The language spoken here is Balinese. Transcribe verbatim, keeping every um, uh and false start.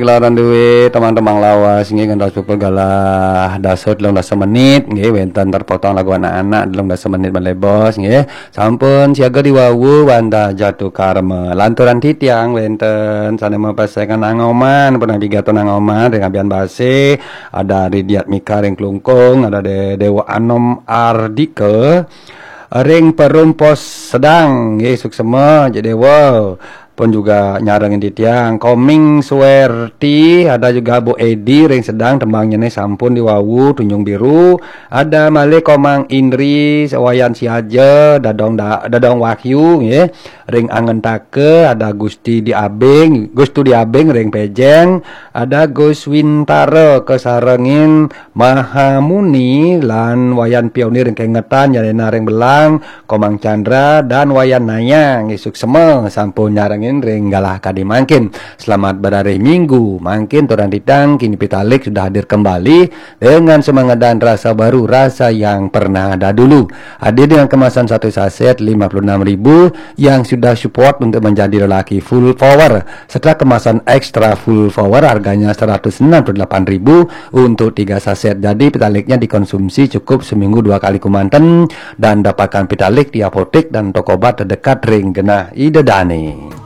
Gelaran duit teman-teman lawas nggih, ngantos pukul galah dasa telung dasa menit nggih, wénten terpotong lagu anak-anak telung dasa menit malih bos nggih. Sampun siaga di wau Wanda Jatukarma. Lanturan titiang wénten sané mapesengan Nang Oman, pun nabi gato Nang Oman ring Abian Base, ada Ridiat Mika ring Klungkung, ada De- Dewa Anom Ardika ring Perum Pos Sedang nggih, suksema Cik Dewa. Pun juga nyarengin titiang Koming Suwerti, ada juga Bu Edi ring Sedang, tembangnyané sampun di wau Tunjung Biru, ada malih Komang Indri, Wayan Siaja, Dadong Da- Dadong Wahyu nggih, ring Angentaka, ada Gusti Diabing, Gustu Diabing ring Pejeng, ada Gus Wintara kasarengin Mahamuni lan Wayan Pionir ring Kengetan, Yalena ring Belang, Komang Chandra dan Wayan Naya nggih, suksema sampun nyarengin ring galah kadi mangkin. Selamat berarih Minggu. Mangkin turan titiang kini Pitalik sudah hadir kembali dengan semangat dan rasa baru, rasa yang pernah ada dulu. Hadir dengan kemasan satu saset lima puluh enam ribu yang sudah support untuk menjadi lelaki full power. Setelah kemasan extra full power, harganya seratus enam puluh delapan ribu untuk tiga saset. Jadi Pitaliknya dikonsumsi cukup seminggu dua kali kemanten dan dapatkan Pitalik di apotek dan toko obat terdekat ring genah Ida Dane.